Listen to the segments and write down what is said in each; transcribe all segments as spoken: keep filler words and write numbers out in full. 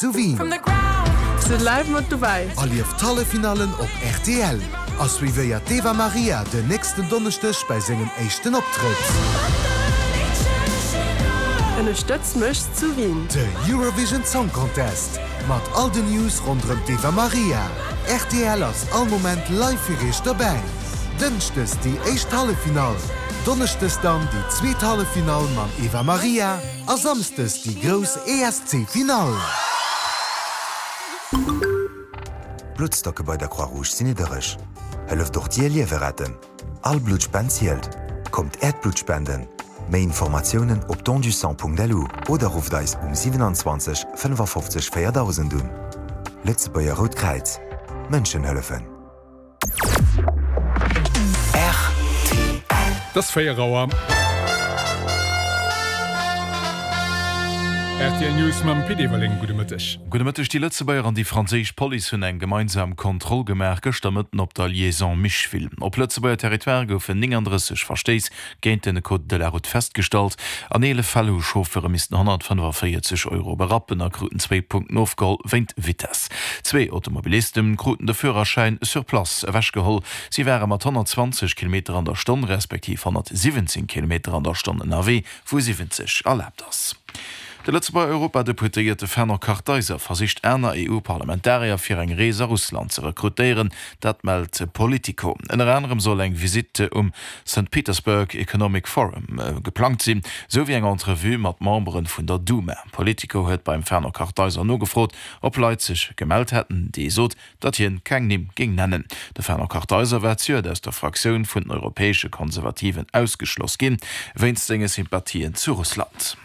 Zu Wien. Sidd live mat dobäi. Erlieft d'Halleffinallen op rtl a suivéiert d'Eva Marija den nächsten Donneschdeg bei sengem éischten Optrëtt. Ënnerstëtz mech zu Wien. De Eurovision Song Contest mat all den News ronderëm d'Eva Marija. Rtl ass all Moment live fir iech dobäi. Dënschdes déi éischt Halleffinall, Donneschdes dann déi zweet Halleffinall mam Eva Marija a Samsdes déi grouss ESC-Finall. D'Bluttstocke bei der Croix-Rouge sinn niddereg. Hëlleft och dir Liewe retten. All Bluttspend zielt. Kommt äert Blutt spenden. Méi Informatiounen op dondusang.lu oder rufft eis um siewenundzwanzeg fënnefafofzeg véierdausend un. Lëtzebuerger Rout Kräiz, Mënschen hëllefen. Et ass véier Auer. Rtl News mam Pit Everling. Gudde Mëtteg. Gudde Mëtteg. Déi Lëtzebuerger an déi franséisch Police hunn eng gemeinsam Kontroll gemaach gëschter Mëtten op der Liaison Micheville. Op Lëtzebuerger Territoire goufen néngandrësseg Verstéiss géint den Code de la Route festgestallt. An eelef Fäll hu Chauffeure missten honnertfënnefaféierzeg Euro berappen a kruten zwéi Punkten ofgeholl wéint Vitess. Zwee Automobiliste kruten de Führerschäin sur place ewechgeholl. Si ware mat honnertzwanzeg Kilometer an der Stonn respektiv honnertsiwwenzéng Kilometer an der Stonn ënnerwee, wou siwwenzeg erlaabt ass. De Lëtzebuerger Europadeputéierte Fernand Kartheiser versicht aner E U-Parlamentarier fir eng Rees a Russland ze rekrutéieren, dat mellt Politico. Ënner anerem soll eng Visitt um Saint Petersburg Economic Forum geplangt sinn, sou wéi eng Entrevue mat Membere vun der Duma. Politico huet beim Fernand Kartheiser nogefrot, ob Leit sech gemellt hätten. Dee sot, datt hien keng Nimm géing nennen. De Fernand Kartheiser war zejoert aus der Fraktioun vun den Europäesche Konservativen ausgeschloss ginn, wéinst senge Sympathien zu Russland.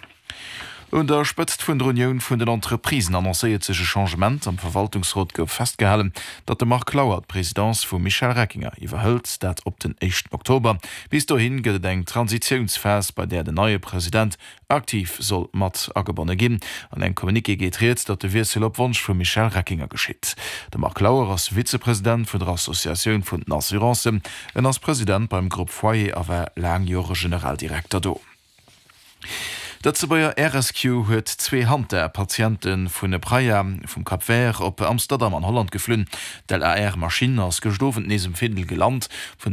Un der Spëtzt vun der Unioun vun den Entreprisen annoncéiert sech e Changement. Am Verwaltungsrot gouf festgehalen, datt de Marc Lauer d'Presidence vum Michel Reckinger iwwerhëlt, dat op den éischten Oktober. Bis dohi gëtt et eng Transitiounsphas, bei där den neie President aktiv soll mat agebonne ginn. An engem Communiqué geet rieds, datt de Wiessel op Wonsch vum Michel Reckinger geschitt. De Marc Lauer ass Vizepresident vun der Associatioun vun den Assurancen. En ass President beim Grupp Foyer a war laang Jore Generaldirekter do. D'Lëtzebuerger Air Rescue huet zwee Hanta-Patiente vun Praia vum Cap Vert op Amsterdam an Holland geflunn. D'L A R Maschinn ass gëscht Owend nees um Findel gelant. Vun